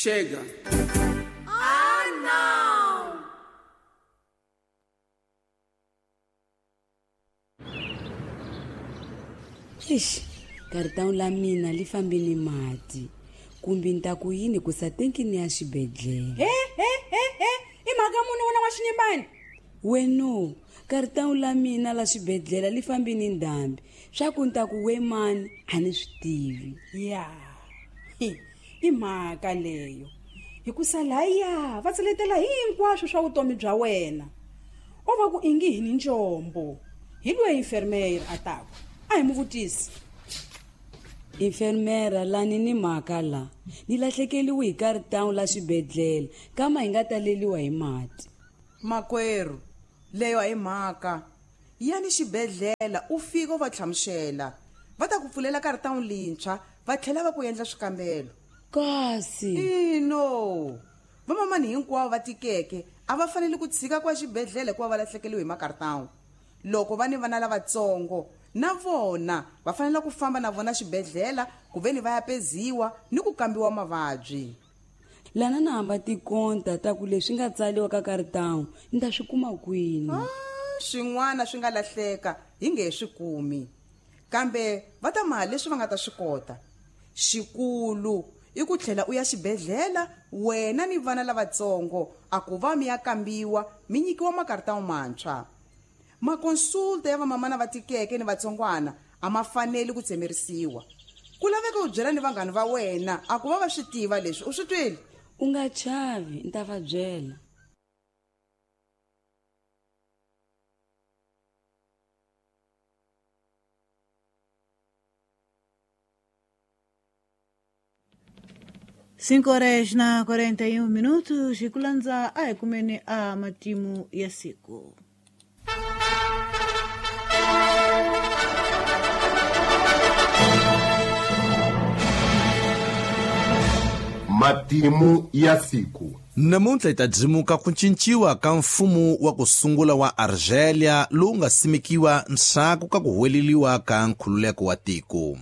Chega. Ah, não! Ixi, cartão la mina li fambile mati. Kumbe ni ta ku yini ku sa tenkini ya xibedhlele. He he he he, i mhaka muni wena wa xinyimbani? Weno, cartão la mina la xibedhlele li fambi ni ndhambi. Swa ku ni ta ku we mani a ni swi tivi. Ya. Hi, i mhaka leyo. Hikusa laya va tseletela hinkwaswo swa vutomi bya wena. O va ku ingi hi ni njombo. Hi loyi enfermeira a taku. A hi mu vutisi. Enfermeira lani ni mhaka la. Ni lahlekeliwe hi cartão la xibedhlele, kama hi nga taleliwa hi mati. Makwerhu, leyo a hi mhaka. Yani xibedhlele u fika u va hlamusela. Va ta ku pfulela cartão lintshwa, va tlhela va ku endla swikambelo. Kasi. Ino. Vamamani hinkwavo va tikeke a va fanele ku tshika kwa xibedhlele hikuva va lahlekeliwe hi makartão. Loko va ni vana lavatsongo na vona va fanele ku famba na vona xibedhlele ku ve ni va ya peziwa ni ku kambiwa mavabyi. Lana na hamba tikonta ta ku leswi nga tsariwa ka cartão ni ta swi kuma kwini? Swin'wana swi nga lahleka hi nge he swi kumi, kambe va ta maha leswi va nga ta swi kota. Xikulu i ku tlhela u ya xibedhlele wena ni vana lavatsongo a ku va mi ya kambiwa mi nyikiwa makartão mantshwa. Makonsulta ya vamamana va tikeke ni vatsongwana a ma faneli ku tsemerisiwa. Ku laveka u byela ni vanghana va wena a ku va va swi tiva leswi, u swi twile? U nga chavi, ni ta va byela. Cinco horas na 41 minutos, hi ku landza a hi kumeni a matimu ya siku. Matimu ya siku. Namuntlha hi ta dzimuka ku cinciwa ka mfumo wa ku sungula wa Argelia lowu nga simekiwa ndzhaku ka ku huweleliwa ka nkhululeko wa tiko.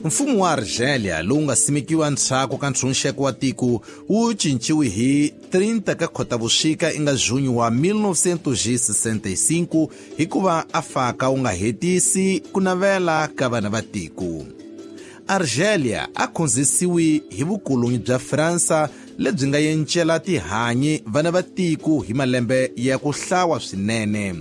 Mfumo wa Argelia lowu nga simekiwa ndzhaku ka ntshunxeko wa tiko wu cinciwe hi 30 ka Khotavuxika inga junho wa 1965 hikuva a faka wu nga hetisi ku navela ka vana va tiko. Argelia a khonzisiwe hi vukoloni bya Fransa lebyi nga yencela tihanyi vana va tiko hi malembe ya ku hlawa swinene.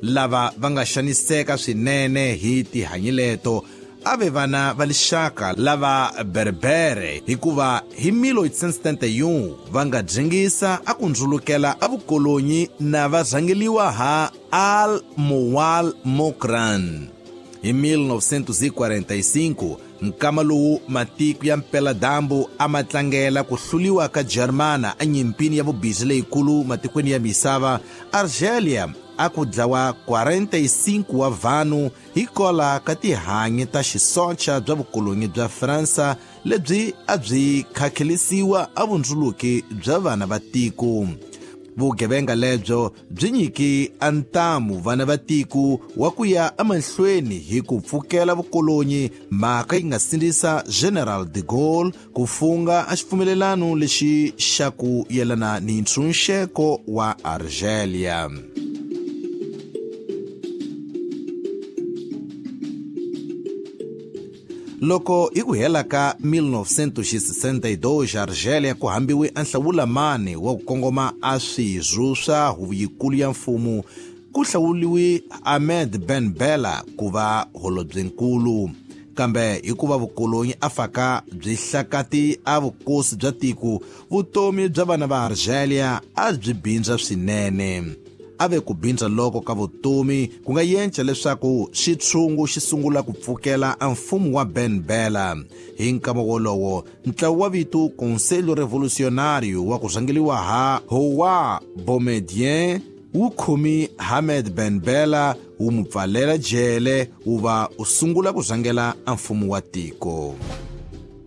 Lava va nga xaniseka swinene hi tihanyi leto a ve vana va lixaka lava Berbere hikuva hi 1871 va nga dzingisa a ku ndzulukela a vukolonyi na va rhangeliwa ha Al Moual Mokran. Hi 1945 nkama lowu matiko ya mpeladambu a ma tlangela ku hluliwa ka Germana enyimpini ya vubizi leyikulu matikweni ya misava, Argelia a ku dlawa 45 wa vanhu hikola ka tihanyi ta xisocha bya vukolonyi bya Fransa lebyi a byi khakhelisiwa a vundzuluki bya vana va tiko. Vugevenga lebyo byi nyiki a ntamu vana va tiko wa ku ya emahlweni hi ku pfukela vukolonyi, mhaka yi nga sindzisa General de Gaulle ku funga a xipfumelelano lexi xa ku yelana ni ntshunxeko wa Argelia. Loko hi ku hela ka 1962 Argelia ku hambiwe a nhlawulamani wa ku kongoma a swirho swa huvo yikulu ya mfumo, ku hlawuliwe Ahmed Ben Bella ku va holobyenkulu. Kambe hikuva vukolonyi a faka byi hlakati a vukosi bya tiko, vutomi bya vana va Argelia a byi bindza swinene. A ve ku bindza loko ka vutomi ku nga yenca leswaku xitshungu xi sungula ku pfukela a mfumo wa Ben Bella. Hi nkama wolowo ntlawa wa vito Conselho Revolucionário wa ku rhangeliwa ha Houari Boumediene wu khomi Ahmed Ben Bella wu mu pfalela jele wu va u sungula ku rhangela a mfumo wa tiko.